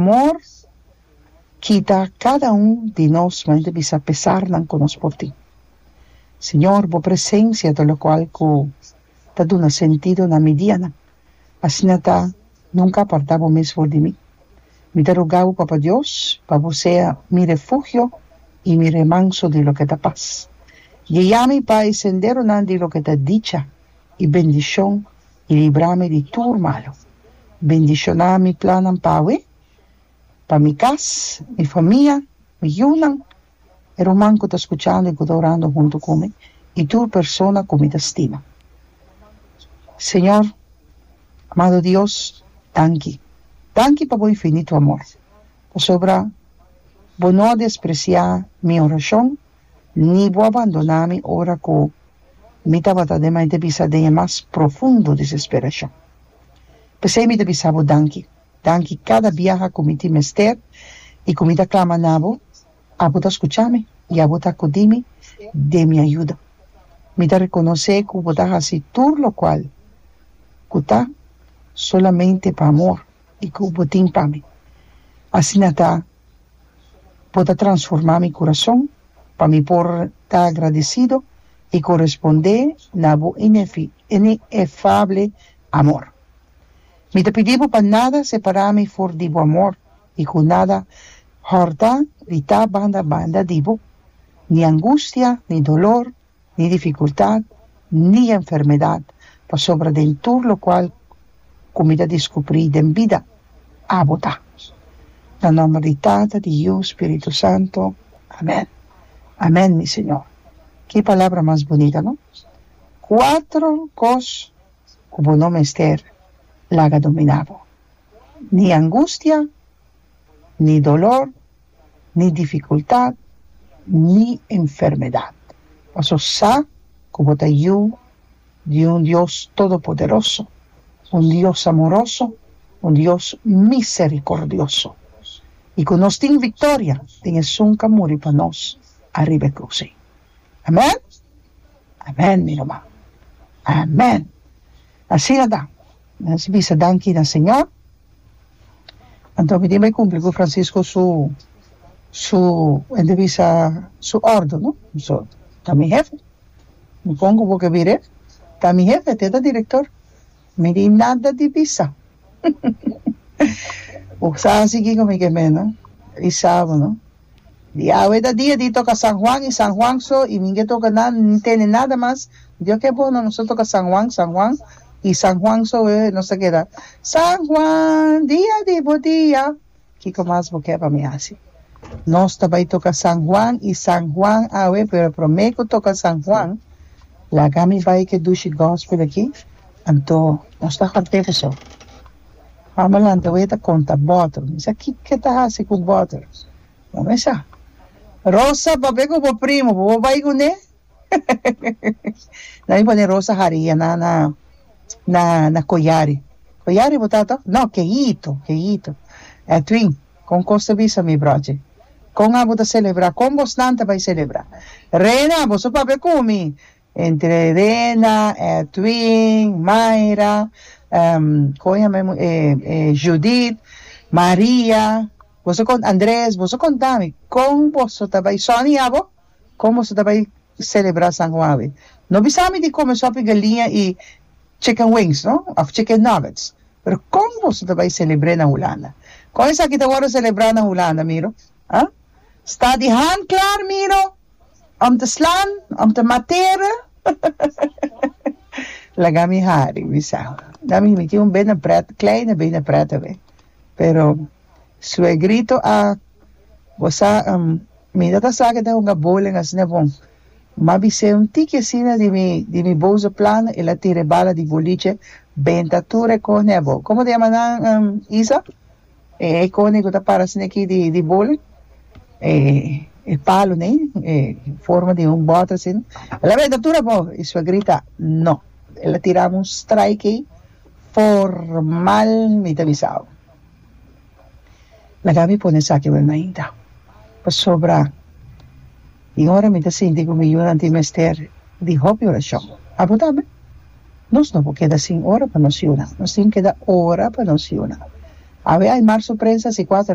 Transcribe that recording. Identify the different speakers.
Speaker 1: Amor kita kada un di nos manera ta bisa pesarnan ku nos por tin. Señor, bo presensia ta lokual ku ta duna sentido na mi dianan. Asina ta, nunka apartá bo mes for di mi. Mi ta roga bo, Papa Dios, pa bo sea mi refugio i mi remanso di loke ta pas. Guia mi pa e senderonan di loke ta dicha i bendishon i libra mi di tur malu. Bendishoná mi plannan p'awe, pa mi kas, mi famia, mi yunan, e ruman ku ta skuchando i ku ta orando huntu ku mi, i tur persona ku mi ta stima. Señor, amado Dios, danki. Danki pa bo infinito amor, pasobra bo no a despresiá mi orashon ni bo a bandoná mi ora ku mi tabata den mai ta bisa den e mas profundo desesperashon. P'esei mi ta bisa bo danki. Danki kada biaha ku mi tin mester i ku mi ta klama na bo, abo ta skucha mi i abo ta akudí mi den mi ayuda. Mi ta rekonosé ku bo ta hasi tur lokual ku ta solamente pa amor i ku bo tin pa mi. Asina ta bo ta transformá mi kurason pa mi por ta agradesido i korespondé na bo inefable amor. Mi ta pidi bo pa nada separá mi for di bo amor i ku nada hòrta di ta banda banda di bo, ni angustia, ni dolor, ni difikultat, ni enfermedat, pasobra den tur lokual ku mi ta diskubrí den bida, abo ta. Na nòmber di Tata, di Yu, Spiritu Santu. Amèn. Amèn, mi Señor. Ki palabra mas bunita, no? Kuatro kos ku bo no mester laga dominá bo, ni angustia, ni dolor, ni difikultat, ni enfermedat. Paso sa ku bo ta yu di un Dios todopoderoso, un Dios amoroso, un Dios miserikordioso, i ku nos tin viktoria den esun ku a muri pa nos ariba e krus ei. Amen? Amen, mi ruman. Amen. Asina ta. Nos bisa danki na Señor. Anto mi tin bai cumpli cu Francisco su su e ta bisa su ordo no so ta mi hefe mi pon cu bo ke bira ta mi hefe te ta director mi tin nada di bisa bo sa haci kico mi ke meno i sa bo no. Di awe ta dia di toca San Juan y San Juan so y mi ke toca nada ni tene nada mas Dios ke bon nos ta toca San Juan San Juan y San Juan so we nos ta keda San Juan dia di bo dia kiko mas bo ke pa mi haci nos ta bay toca San Juan y San Juan awe pero prome cu toca San Juan laga mi bay ke dushi gospel aki anto nos ta horte paso. Mama lanta wei ta konta bòter. Mi sa kiko e ta hasi ku bòter. No me sa. Rosa, papia ku bo primo, bo por bai kuné? Nan mi pone Rosa haria na na na na Koyari. Koyari bo ta tòg? No, Keyito, Keyito. Edwin, kon kos ta bisa mi brochi? Kon abo ta selebrá? Kon bosnan ta bai selebrá? Rena, boso papia ku mi. Entre Rena, Edwin, Mayra, kon yama e Judith, Maria, boso kon Andres, boso konta mi kon boso ta bai, Sonny abo, kon boso ta bai celebra San Juan awe? No bisa mi di come sopi galiña y chicken wings no, of chicken nuggets, pero kon boso ta bai celebre na Hulanda? Kon esaki ta worde celebra na Hulanda, Miro? Ah? Sta di hand klaar, Miro? Om te slaan, om te materen. Laga mi hari, mi sa. Na mi, mi tin un bene pret, kleine bene pret awe. Pero suegrito a, bo sa, mi no ta sa ke ta hunga bowling asina bon. M'a bis'é un tiki asina di mi, di mi boze plan, el a tira e bala di boliche benta tur e kos n'e abou. Komo ta yama nan, Isa? E kone ku ta para asina aki di di bowling, e e palo nei, e forma di un bòt asina. El a benta tur abou i suegrita no. El a tira un strike ei formal mi ta bisa bo. Laga mi pone esaki wèl mainta pasobra tin ora mi ta sinti ku mi yunan tin mester di hopi orashon. Abo tambe? Nos no por keda sin ora pa nos yunan. Nos tin keda ora pa nos yunan. Awe Aymar su prensa si cuater.